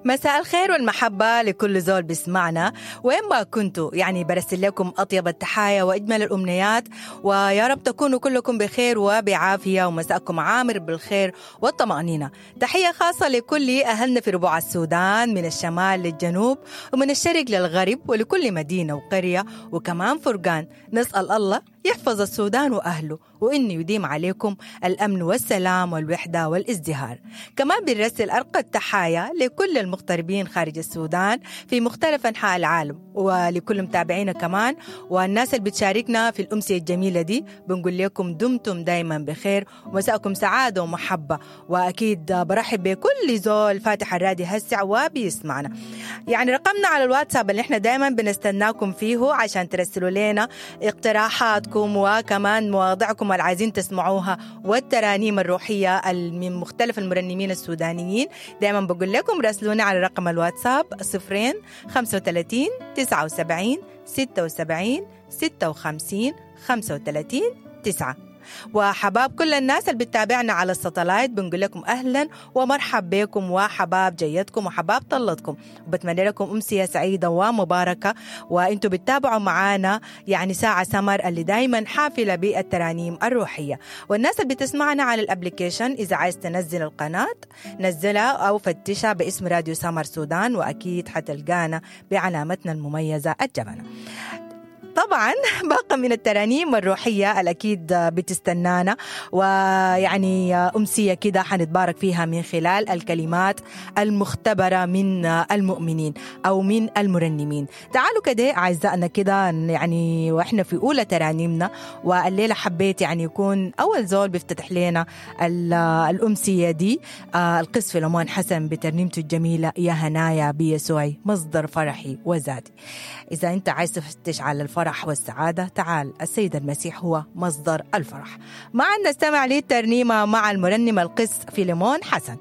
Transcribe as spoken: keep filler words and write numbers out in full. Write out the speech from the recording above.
مساء الخير والمحبة لكل زول بيسمعنا وين ما كنتوا، يعني برسل لكم أطيب التحايا وأجمل الأمنيات، ويا رب تكونوا كلكم بخير وبعافية ومساءكم عامر بالخير والطمأنينة. تحية خاصة لكل أهلنا في ربوع السودان، من الشمال للجنوب ومن الشرق للغرب، ولكل مدينة وقرية وكمان فرقان. نسأل الله يحفظ السودان وأهله، وإنه يديم عليكم الأمن والسلام والوحدة والازدهار. كمان بنرسل أرقى التحايا لكل المغتربين خارج السودان في مختلف أنحاء العالم، ولكل متابعينا كمان والناس اللي بتشاركنا في الأمسية الجميلة دي. بنقول لكم دمتم دايما بخير ومساءكم سعادة ومحبة. وأكيد برحب بكل زول فاتح الراديو هسع وبيسمعنا. يعني رقمنا على الواتساب اللي احنا دايما بنستناكم فيه عشان ترسلوا لنا اقتراحاتكم وكمان مواضيعكم اللي عايزين تسمعوها والترانيم الروحية من مختلف المرنمين السودانيين. دايما بقول لكم راسلونا على رقم الواتساب صفرين خمسة وثلاثين تسعة وسبعين ستة وسبعين ستة وخمسين خمسة وثلاثين تسعة. وحباب كل الناس اللي بتتابعنا على الساتلايت بنقول لكم أهلا ومرحب بكم، وحباب جيتكم وحباب طلتكم، وبتمنى لكم أمسية سعيدة ومباركة وانتم بتتابعوا معانا يعني ساعة سمر اللي دايما حافلة بالترانيم الروحية. والناس اللي بتسمعنا على ال application، إذا عايز تنزل القناة نزلها أو فتشها باسم راديو سمر سودان، وأكيد حتلقانا بعلامتنا المميزة الجبنة. طبعا باقة من الترانيم الروحية الأكيد بتستنانا، ويعني أمسية كده حنتبارك فيها من خلال الكلمات المختبرة من المؤمنين أو من المرنمين. تعالوا كده أعزائنا كده يعني وإحنا في أولى ترانيمنا، والليلة حبيت يعني يكون أول زول بيفتتح لنا الأمسية دي القس فيلمون حسن بترنيمته الجميلة يا هنايا بيسوعي مصدر فرحي وزادي. إذا أنت عايز تفتش على الفرح والسعادة تعال، السيد المسيح هو مصدر الفرح. معنا نستمع للترنيمة مع المرنم القس فيلمون حسن.